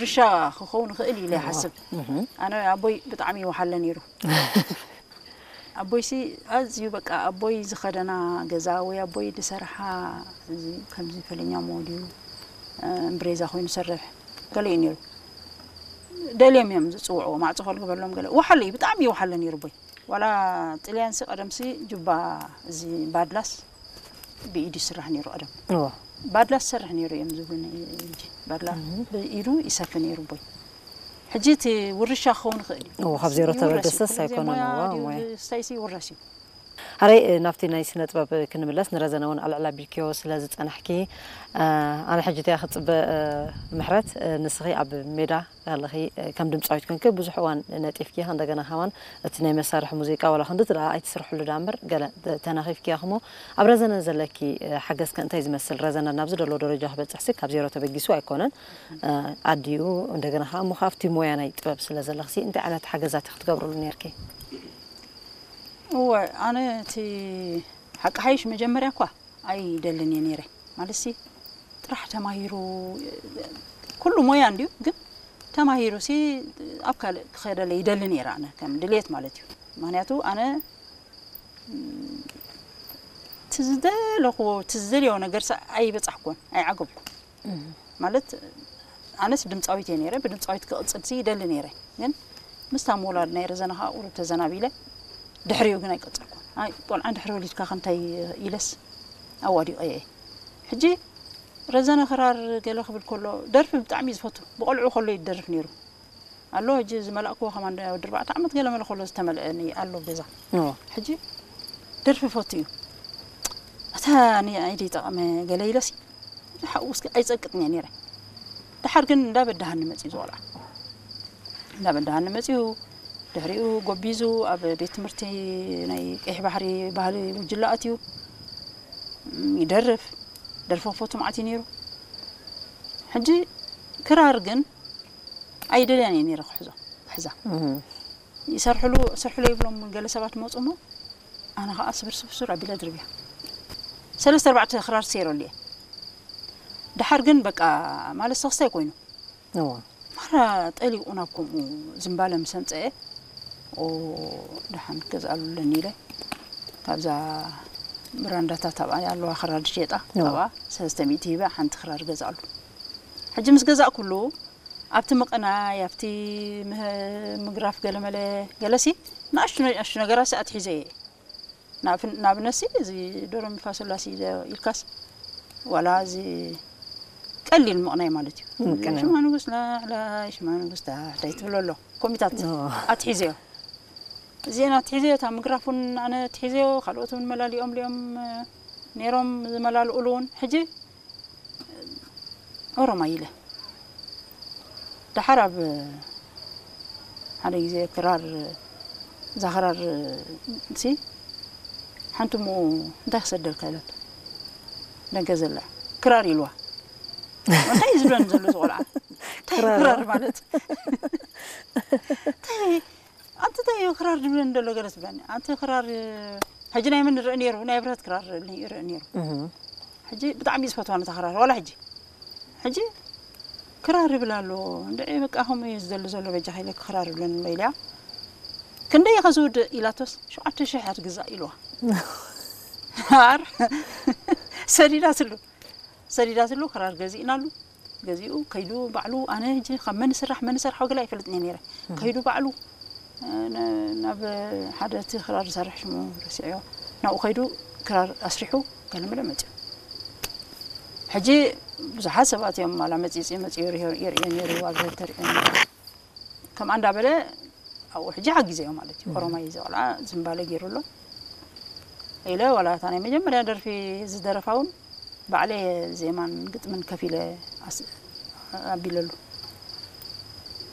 ርሻ ክኸውን ይኽእል ኢለ ይሓስብ። ኣነ ኣቦይ ብጣዕሚ ይወሓለ ነይሩ። ኣቦይሲ ኣዝዩ በቃ ኣቦይ ዝኸደና ገዛ ወይ ኣቦይ ዝሰርሓ እዚ ከምዚ ፈለኛ ሞድዩ እምብሬዛ ኮይኑ ሰርሕ ገለ እዩ ነይሩ። ደልዮም እዮም ዝፅውዕዎ፣ ማዕፆ ከልግበሎም ገለ። ወሓለ እዩ፣ ብጣዕሚ ይወሓለ ነይሩ ኣቦይ። ዋላ ጥልያንሲ ቀደምሲ ጁባ እዚ ባድላስ ብኢዱ ይስራሕ ነይሩ ቀደም። ባድላስ ሰርሕ ነይሩ እዮም ዝብሉኒ። ሕጂ ባድላ ብኢዱ ይሰፊ ነይሩ ኣቦይ። ሕጂ እቲ ውርሻ ክኸውን ይኽእል እዩ። እዎ፣ ካብ ዜሮ ይውረስ እዩ። ተበገሰስ ኩሉ ግዜ ኣይኮነን። ሞያ እዎ፣ ድዩ ሞያ። ዝስታይሲ ይውረስ እዩ። ሓረይ፣ እ፣ ናብቲ ናይ ስነ ጥበብ ክንምለስ፣ ንረዘነ እውን ኣልዕል ኣቢልክዮ ስለ ዝጸናሕኪ፣ እ፣ ኣነ ሕጂ እቲኣ ክጽበ፣ እ፣ ምሕረት፣ እ፣ ንስኺ ኣብ ሜዳ ከለኺ፣ እ፣ ከም ድምጻዊት ኮንኪ ብዙሕ እዋን ነጢፍኪ፣ እንደገና ከማን እቲ ናይ መሳርሒ ሙዚቃ ዋላ ክንድቲ ደኣ ኣይትስርሕሉ ደኣ እምበር፣ ገለ ተ-፣ ተናኺፍኪ ኢኺ እሞ፣ ኣብ ረዘነ ዘለኪ፣ እ፣ ሓገዝ ከ እንታይ ዝመስል? ረዘነ ናብዚ ደሎ ደረጃ ክበጽሕሲ ካብ ዜሮ ተበጊሱ ኣይኮነን። እ፣ ኣዲኡ፣ እንደገና ከኣ እሞ ካብቲ ሞያ ናይ ጥበብ ስለ ዘለኽሲ፣ እንታይ ዓይነት ሓገዛት ክትገብርሉ ነርኪ? እወ፣ ኣነ እቲ ሓቂ ሓይሽ መጀመርያ እኳ ኣይደልን እየ ነይረ። ማለትሲ ጥራሕ ተማሂሩ፣ ኩሉ ሞያ እንድዩ፣ ግን ተማሂሩሲ ኣብ ካልእ ክኸደለ ይደሊ ነይረ ኣነ፣ ከም ድልየት ማለት እዩ። ምኽንያቱ ኣነ፣ ም፣ እቲ ዝደለኽዎ፣ እቲ ዝደልዮ ነገርሲ ኣይበጻሕኩን፣ ኣይዓገብኩን። ማለት ኣነስ ድምጻዊት እየ ነይረ፣ ብድምጻዊት ክቕጽልሲ ይደሊ ነይረ። ግን ምስታ ምውላድ ናይ ረዘነ ከኣ ቁሩብ ተዘናቢለ፣ ድሕሪኡ ግን ኣይቀጸልኩን። ኣይ፣ ቆልዓ እንድሕሪ ወሊድካ ከ እንታይ ኢለስ ኣዋዲቐ እየ። ሕጂ ረዘነ ክራር ገለ ክብል ከሎ፣ ደርፊ ብጣዕሚ እዩ ዝፈቱ። ብቆልዑ ከሎ እዩ ዝደርፍ ነይሩ። ኣሎ፣ ሕጂ ዝመላእክዎ ከማን ወዲ ኣርባዕተ ዓመት ገለ መለ ከሎ ዝተመልአኒ ኣሎ ኣብ ገዛ። እዎ። ሕጂ ደርፊ ፈቱ እዩ። ኣታ ንዓይ ደይጠቐመ ገለ ኢለሲ፣ ሓው እስኪ ኣይጸቅጥን እየ ነይረ። ደሓር ግን እንዳበዳሃኒ መጺኡ ዝቆልዓ። እንዳበዳሃኒ መጺኡ፣ ድሕሪኡ ጎቢዙ ኣብ ቤት ትምህርቲ ናይ ቀይሕ ባሕሪ ባህሊ ጉጅለ ኣትዩ፣ ም፣ ይደርፍ፣ ደርፊ ክፈቱ መዓት እዩ ነይሩ። ሕጂ ክራር ግን ኣይደልያን እየ ነይረ ክሕዞ፣ ክሕዛ። እህ። ይሰርሕሉ፣ ሰርሕሉ ይብሎም ገለ ሰባት መጹ እሞ፣ ኣነ ኸኣ ስብር ስብር ስብር ኣቢለ ድርብያ። ሰለስተ ኣርባዕተ ክራር ሰይረሉ እየ። ደሓር ግን በቃ፣ ማለት ሰኽስታይ ኮይኑ። እዎ። ማራ ጠሊቑ ናብ ከምኡ ዝምባለ ምስ ኣምጸኤ፣ ኦ፣ ደሓን ክገዝኣሉ ኣለኒ ኢለ፣ ካብዛ ብራንዳታት ኣብኣ ኣለዋ ክራር ዝሸጣ፣ እዎ። ካብኣ ሰለስተ ሚእቲ ሂበ ሓንቲ ክራር ገዛእሉ። ሕጂ ምስ ገዛእኩሉ፣ ኣብቲ ምቕናይ፣ ኣብቲ ምህ-፣ ምግራፍ ገለመለ፣ ገለሲ፣ ንኣሽቱ፣ ንኣሽቱ ነገራት ኣትሒዘ እየ። ናብ-፣ ንኣብነትሲ፣ እዚ ዶሮ ሚ ፋ ሶ ላ ሲ ዶ ኢልካስ፣ ዋላ እዚ ቀሊል ምቕናይ ማለት እዩ። ምቅናይ። ሽማ ንጉስ ላዕላይ፣ ሽማ ንጉስ ታሕታይ ትብሎ ኣሎ። ኮሚታት ኦ። ኣትሒዘዮ። እዚአን ኣትሒዘዮ፣ እታ ምግራፍ እውን ኣነ ኣትሒዘዮ፣ ካልኦት እውን መላሊኦም ልኦም፣ እ፣ ነይሮም ዝመላልኡሉ እውን። ሕጂ ኦሮማይ ኢለ። ደሓር ኣብ ሓደ ግዜ ክራር፣ እዛ ክራር ሲ ሓንቲ እሞ እንታይ ክሰደልካ ኢላቶ። ደንገ ዘላ ክራር ኢልዋ። እንታይ እዩ ዝብለኒ ዘሎ እዚ ቆልዓ? እንታይ ክራር? ክራር ማለት? እንታይ ኣንቲ እንታይ እዩ ክራር ዝብለኒ ዘሎ ገለ ትብለኒ። ኣንቲ ክራር፣ ሕጂ ናይ መን ይርእ ነይሩ? ናይ ብረት ክራር ይርእ ነይሩ። እህ። ሕጂ ብጣዕሚ እዩ ዝፈትዋ ነታ ክራር፣ ዋላ ሕጂ። ሕጂ ክራር ይብል ኣሎ። እንድዒ በቃ ከምኡ እዩ ዝደሊ ዘሎ፣ በጃኻ ኢለኪ ክራር ይብለኒ ኣሎ ኢለያ። ክንደይ ኢኸ ዝውድእ ኢላቶስ፣ ሸውዓተ ሽሕ እያ ትግዛእ ኢልዋ። ኣር-፣ ሰዲዳትሉ። ሰዲዳትሉ ክራር ገዚእናሉ። ገዚኡ ከይዱ ባዕሉ፣ ኣነ ሕጂ ካብ መን ይስራሕ መን ይሰርሖ ገለ ኣይፈልጥን እየ ነይረ። እህ። ከይዱ ባዕሉ፣ እ፣ ነ-፣ ናብ ሓደ እቲ ክራር ዝሰርሕ ሽሙ ረሲዐዮ። ናብኡ ከይዱ ክራር ኣስሪሑ ገለመለ መጺኡ። ሕጂ ብዙሓት ሰባት እዮም፣ ዋላ መጺጺ መጺኡ ይርዮ-፣ ይርእዮ ነይሩ፣ ኣብ ተርእዮ ነይሩ። ከምኣ እንዳበለ ኣብኡ ሕጂ ሓጊዘዮ ማለት እዩ። እም። ኦሮማይ እዚ ቆልዓ ዝምባለ ገይሩ ኣሎ ኢለ፣ ዋላ እታ ናይ መጀመርያ ደርፊ ዝደረፋ እውን ባዕለ ዜማን ግጥምን ከፊለ ኣስ-፣ ኣቢለሉ።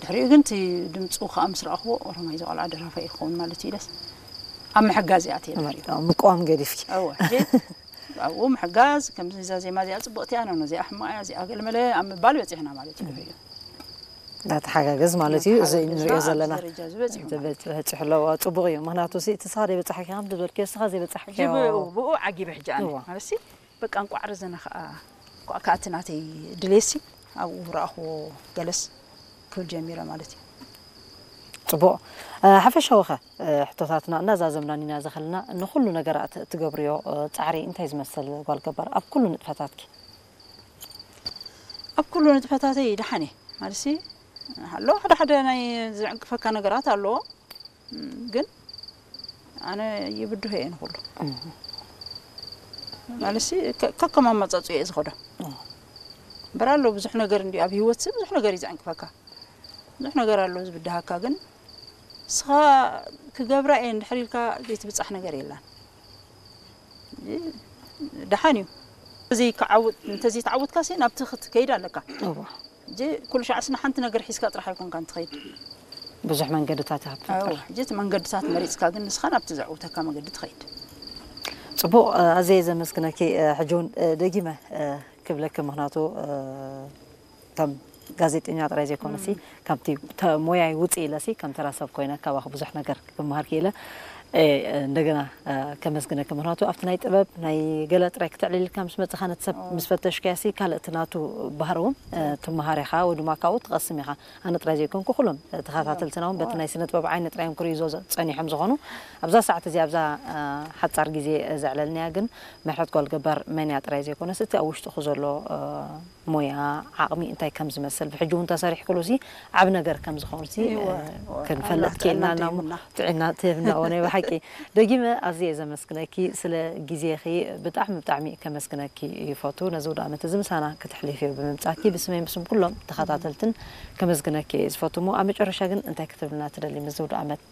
ድሕሪኡ ግን እቲ ድምፁ ከዓ ምስ ረኣኽዎ፣ ኦሮማይ እዚ ቆልዓ ደራፋይ ክኸውን ማለት እዩ ኢለስ ኣብ ምሕጋዝ እየ ኣትየ ድሕሪኡ። ምቅዋም ገዲፍኪ። እወ፣ ሕጂ ኣብኡ ምሕጋዝ፣ ከምዚ እዛ ዜማ እዚኣ ፅብቕቲ እያ፣ ኖኖ እዚኣ ሕማቕ እያ፣ እዚኣ ገለመለ ኣብ ምባል በፂሕና ማለት እዩ ድሕሪኡ። እንዳተሓጋገዝ ማለት እዩ። እዚ እንዳተሓጋገዝና ንሪኦ ኣብዚ ዘለና ደረጃ እዚ በፂሑ ማለት እዩ። በፂሑ ኣለዎ። ፅቡቕ እዩ። ምኽንያቱ ሲ፣ እቲ ንስኻ ዘይበፃሕኪ ከም ዝበልክዮ፣ ንስኻ ዘይበፃሕክዮ። ሕጂ ብኡ፣ ብኡ ዓጊበ ሕጂ ኣነ። እዋ። ማለትሲ፣ በቃ እንቋዕ ረዘነ ኸዓ፣ እንቋዕ ከኣ እቲ ናተይ ድሌትሲ ኣብኡ ረኣኽዎ ገለስ። ክብል ጀሚረ ማለት እዩ። ፅቡቕ። ሓፈሻዊ ኸ ሕቶታትና እናዛዘምና ኢና ዝኸልና፣ ንኩሉ ነገራት እትገብርዮ ፃዕሪ እንታይ ዝመስል ጓል ገባር ኣብ ኩሉ ንጥፈታትኪ? ኣብ ኩሉ ንጥፈታተይ ደሓን እየ ማለት ኣሎ። ሓደ ሓደ ናይ ዝዕንቅፈካ ነገራት ኣለዎ፣ ግን ኣነ ይብድሆ እየ ንኩሉ ማለት ከከም ኣመፃፅኡ እየ ዝኸዶ። እምበር ኣሎ ብዙሕ ነገር እንዲ ኣብ ህይወት ብዙሕ ነገር እዩ ዝዕንቅፈካ፣ ብዙሕ ነገር ኣሎ ዝብድሃካ፣ ግን ንስኻ ክገብራ እየ እንድሕር ኢልካ ዘይትብፃሕ ነገር የላን። ደሓን እዩ። እንተዘይተዓውትካ ሲ ናብቲ ክትከይድ ኣለካ። እጂ ኩሉ ሻዕ ስና ሓንቲ ነገር ሒዝካ ጥራሕ ኣይኮንካ እንትኸይድ። ብዙሕ መንገድታት እጂ እቲ መንገድታት መሪፅካ ግን ንስኻ ናብቲ ዘዕውተካ መገዲ ትኸይድ። ፅቡቕ። ኣዘየ ዘመስግነኪ። ሕጂ እውን ደጊመ ክብለኪ፣ ምክንያቱ ከም ጋዜጠኛ ጥራይ ዘይኮነሲ፣ ካብቲ ሞያይ ውፅእ ኢለሲ ከም ተራ ሰብ ኮይነ ካባኺ ብዙሕ ነገር ክመሃር ክኢለ። እንደገና ከመስግነኪ፣ ምክንያቱ ኣብቲ ናይ ጥበብ ናይ ገለ ጥራይ ክተዕልልካ ምስ መፅኻ፣ ነቲ ሰብ ምስ ፈተሽካሲ ካልእ እቲ ናቱ ባህሪ እውን ትመሃር ኢኻ፣ ወይ ድማ ካብኡ ትቐስም ኢኻ። ኣነ ጥራይ ዘይኮንኩ ኩሎም ተኸታተልትና እውን በቲ ናይ ስነ ጥበብ ዓይኒ ጥራይ እዮም ክርእዩ ጸኒሖም ዝኾኑ። ኣብዛ ሰዓት እዚኣ ኣብዛ ሓጻር ግዜ ዘዕለልናያ ግን ምሕረት ጓል ገባር መን እያ ጥራይ ዘይኮነስ እቲ ኣብ ውሽጥኹ ዘሎ ሞያ ዓቕሚ እንታይ ከም ዝመስል ብሕጂ እውን ተሰሪሕክሉ ሲ ዓብ ነገር ከም ዝኾኑ ሲ ክንፈልጥ ክኢልና እና ጥዕና ትህብና። ወ ናይ ብሓቂ ደጊመ ኣዝየ ዘመስግነኪ ስለ ግዜኺ። ብጣዕሚ ብጣዕሚ ከመስግነኪ ይፈቱ። ነዚ ውድእ ዓመት እዚ ምሳና ክትሕልፍዮ ብምምጻኪ ብስመይ ብስም ኩሎም ተኸታተልትን ከመስግነኪ እየ ዝፈቱ። እሞ ኣብ መጨረሻ ግን እንታይ ክትብልና ትደሊ? ምስዚ ውድእ ዓመት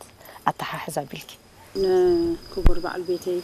ኣተሓሕዝ ኣቢልኪ ንክቡር በዓል ቤተይ